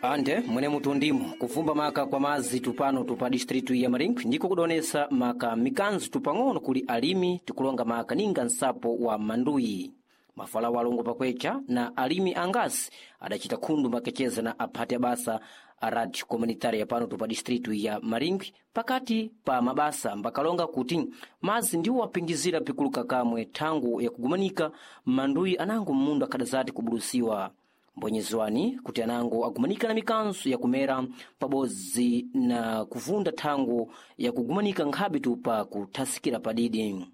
Ande mwene mutundimo kuvumba maka kwa mazi tupano tupa distritu ya Maringi ndiko kudonesa maka mikanzu tupang'ono kuli alimi tikulonga maka ninga nsapo wa manduyi mafala walongo pakwecha na alimi angasi adacita khundu makecheza na aphati abasa a radio komunitaria pano tupa distritu ya Maringi pakati pa mabasa mbakalonga kuti mazi ndiwo apingizira pikuluka kamwe thangu yakugumanika manduyi anango mmundu akhadazati kubulusiwa mbonyezwani kuti anango agumanika na mikanso yakumera pabodzi na kuvunda thangu yakugumanika nkhabe tupa kuthasikira padidi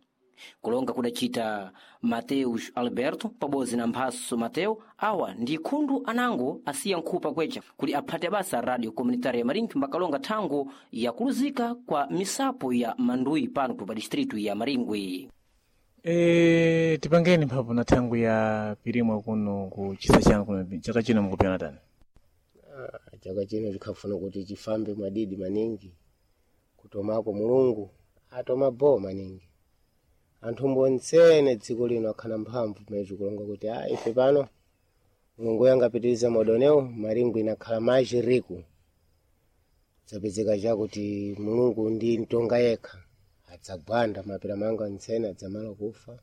kulonga kudacita Mateus Alberto pabodzi na Mphaso Mateo awa ndi khundu anango asiya nkhupa kwecha kuli aphati abasa radio komunitaria ya Maringi mbakalonga thangu yakuluzika kwa misapo ya manduyi pano tupa distritu ya Maringwi. Tipangeni mphapo na thangu ya pirimwa kuno ku chisa chanu kuno chaka chino mukupyana tani. Chaka chino chikhafuna kuti chifambe mwadidi maningi kutomako Mulungu atoma bo maningi anthu mbonsene dziko lino akhana mphamvu pamene tikulonga kuti a ife pano Mulungu yangapitiriza madonewo Maringwi inakhala machiriku zapezeka chakuti Mulungu ndi mtonga yekha adzagwanda mapira manga ntsene adzamala kufa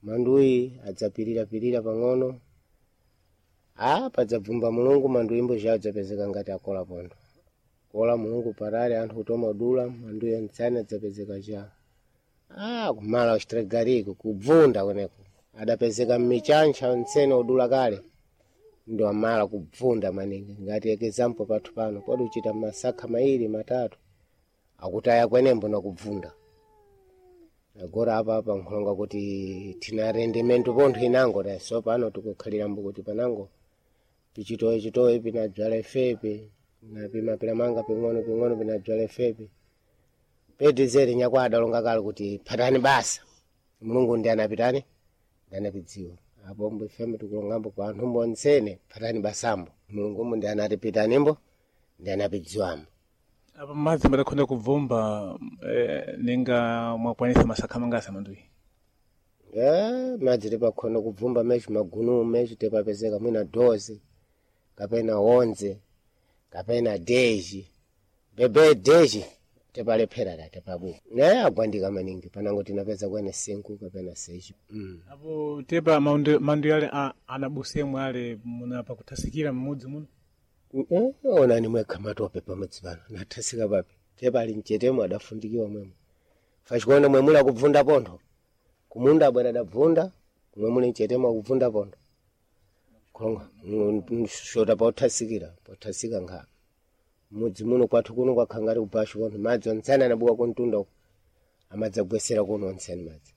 manduyi adzapirira-pirira pang'ono a padzabvumba Mulungu manduyi mbo chawo adzapezeka ngati akola pondo kola Mulungu parale anthu kutoma dula manduyi ntsene adzapezeka cha a kumala uchitregariko kubvunda kweneko adapezeka mmichancha ntsene odula kale ndo amala kubvunda maningi ngati example pathu pano podi uchita masakha mairi matatu akutaya kwenembo nakubvunda agora apa apa nkhulonga kuti tina rendimento pontho inango ta so pano tikukhalirambo kuti panango pichitowe chitowe pinadzala ifepe na pimapira manga ping'ono ping'ono pinadzala ifepe pedizeri nyakwa adalonga kale kuti phatani basa Mulungu ndi anapitani ndi anapidziwa apo mbo ifembe tikulongambo kwa anthu mbonsene phatani basambo Mulungu mbo ndi anati pitanimbo ndi anapidziwambo. Apa madzi madakhonda kubvumba ninga mwakwanisa masakha mangasa manduyi. Madzi tipakhona kubvumba mechi magunu mechi tipapezeka mwina doze kapena onze kapena deji bebe deji tipalephera ta tipabuka ne agwandika maningi panango tinapeza kwene 5 kapena 6. Apo tepa manduyi ale anabusemwe ale munapa kuthasikira mmudzi muno. Onani mwekha matope pamudzi pano nathasika papi tepali mchetemo adafundikiwa mwemo fachikuona mwemuli akubvunda pontho kumunda abwera adabvunda kumwe muli mchetemo akubvunda pontho kulonga shota pothasikira pothasika nkha mudzi muno kwathu kuno kwakhala ngati kubashu pontho madzi ontsene anabuka kuntunda uko amadzagwesera kuno ontsene madzi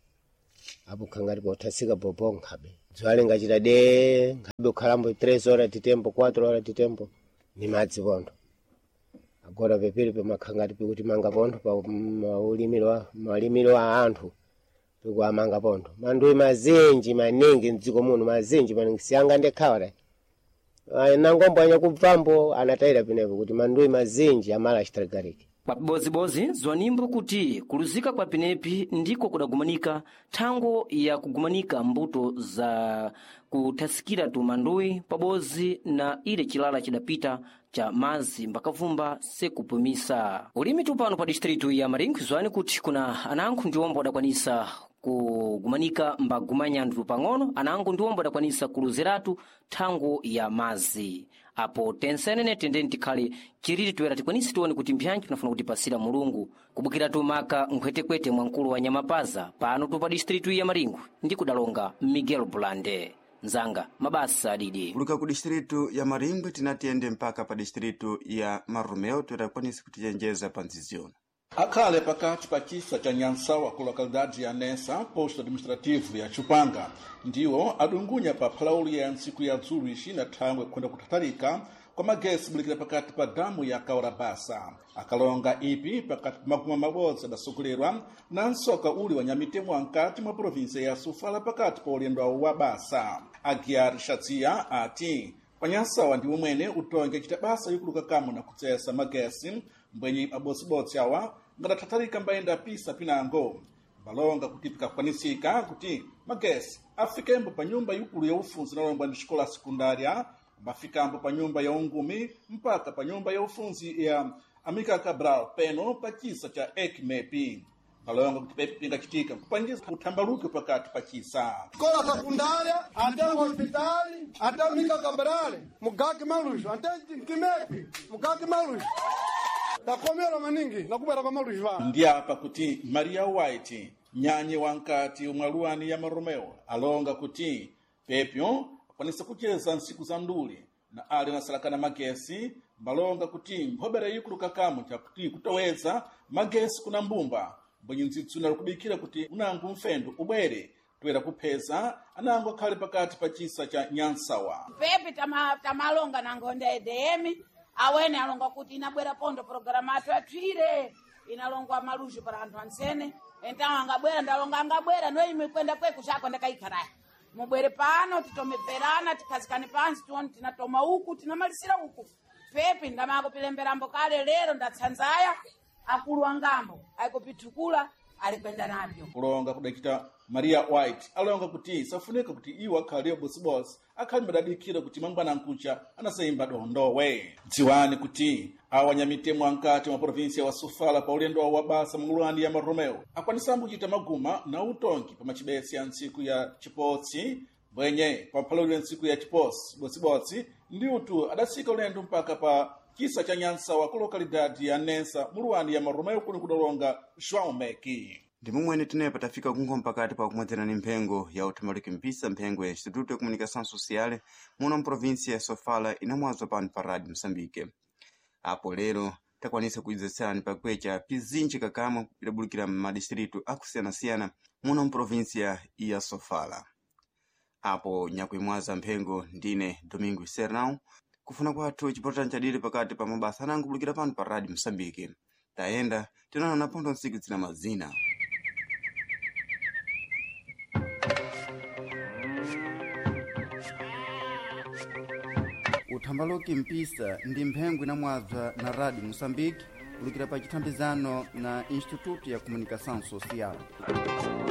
apo khala ngati pothasika bobo nkhabe dzuwa lingachita de nkhabe kukhalambo 3 horas titembo 4 horas titembo ni madzi pontho agora pepiri pemakhala ngati pikuti manga pontho pa maulimiro malimiro a anthu pikuamanga pontho manduyi mazinji maningi mdziko muno mazinji maningi siyanga ndekhawa ta nangombo anyakubvambo anatayira penepo kuti manduyi mazinji amala achitaligariki. Kwa bozibozi zwanimbo kuti kuluzika kwa penepi ndiko kudagumanika thango ya kugumanika mbuto za kuthasikira tumanduyi pabodzi na ile chilala chidapita cha mazi mbakavumba sekupumisa ulimi tupano pa distritu ya Maringi zwani kuti kuna anango ndiwombo adakwanisa kugumanika mbagumanyandru pang'ono anango ndiwombo adakwanisa kuluziratu thango ya mazi apo tensenene tendeni tikhale chiriri toera tikwanise tione kuti mphyantchi tunafuna kutipasira Mulungu kubukiratu maka nkhwetekwete mwa mkulu wa Nyamapaza pano tupa distritu ya Maringwi ndi kudalonga Miguel Bulande nzanga mabasa adidi kuluka ku distritu ya Maringwi tinatiyende mpaka pa distritu ya Marromeu toera kwanisa kutichenjeza pa nziziona. Akhale pakati pa chisa cha Nyansawa ku lokalidade ya Nessa, posto administrativo ya Chupanga, ndiwo adungunya pa phalauli ya ntsiku ya dzulo ixina thangwe kukhonda kuthathalika kwa magesi bulikira pakati pa damu ya Kaurabasa. Akalonga ipi pakati pa makumi mabodzi adasokolerwa na nsoka uli wa nyamitemo ankati mwa provinsia ya Sofala pakati pa ulendo awo wa basa. Aguiar Shadziya ati panyansawa ndiwo mwene utonge acita basa yokuluka kamwe na kutsesa magesi mbwenye abosibotsi awa ngadathathalika mbayenda pisa pinango balonga kuti pikakwanisika kuti magesi afikembo pa nyumba ikulu ya ufunzi inalongwa ndi xikola sekundária. Mbafikambo pa nyumba ya ungumi mpaka pa nyumba ya ufunzi ya Amika Cabral peno pa chisa cha ekmepi. Balonga kuti pepi pingachitika kupangiza uthambaluke pakati pa chisa. Escola secundária, até o hospital, até o Mica Cabral, Mugaki Maluz, até Kimepi, Mugaki Maluz. Takomera maningi, nakubera kwa Maluz va. Ndi apa kuti Maria White nyanye wankati umwaluwani ya Maromeo alonga kuti pepyo akwanisa kucheza nsiku za nduli na ali nasalakana magesi balonga kuti mphobera ikulu kakamu chakuti kutoweza magesi kuna mbumba mbwenye nzitsuna likubikira kuti unangu mfendo ubwere toera kupheza anango akhale pakati pa chisa cha nyansawa. Pepi tamalonga nangonda edm awene alonga kuti inabwera pondo programu athu atwire inalongwa maluxo para anthu antsene então angabwera ndalonga angabwera noimwe kwenda kweku chako ndakaikaraya mubwere pano titomebverana tikhazikane pansi tione tinatoma uku tinamalisira uku. Pepi ndamakupilemberambo kale lero ndatsanzaya akulu angambo aikupithukula ali kwenda nabyo. Kulonga kudachita Maria White alonga kuti safunika kuti iwo akhale bosibosi akhale madadikira kuti mangwana nkucha anasayimba dondowe. Dziwani kuti awa nyamitemo ankati mwa provinsia wa Sofala pa ulendo wawo wa basa mngulwani ya Maromeo akwanisambo kuchita maguma na utongi pa machibesi ya ntsiku ya chipotsi bwenye pa mphaloli ya ntsiku ya chiposi bosibotsi ndi utu adasika ulendo mpaka pa chisa cha nyansawa ku lokalidade ya Nensa muluwani ya Maromeo kuno kudalonga João Meki. Ndi momwene tinepa tafika kunkhoma pakati pa kumwedzera ni mphengo ya uthambaluki mpisa mphengo ya Instituto ya Comunicação Social muno mprovinsia ya Sofala inamwazwa pano pa Rádio Moçambique. Apo lero takwanisa kuidzetserani pakwecha pizinji kakamwe idabulukira m'madistritu akusiyanasiyana muno mprovinsia ya Sofala. Apo nyakuimwaza mphengo ndine Domingo Sernão kufuna kwathu chipotera nchadiri pakati pa mabasa anango kubulukira pano pa Rádio Moçambique. Tayenda tinaona napondo ntsiku zina mazina. Uthambaluki mpisa ndi mphengo inamwabza na Rádio Moçambique kulukira pa chithambizano na Instituto ya Comunicação Social.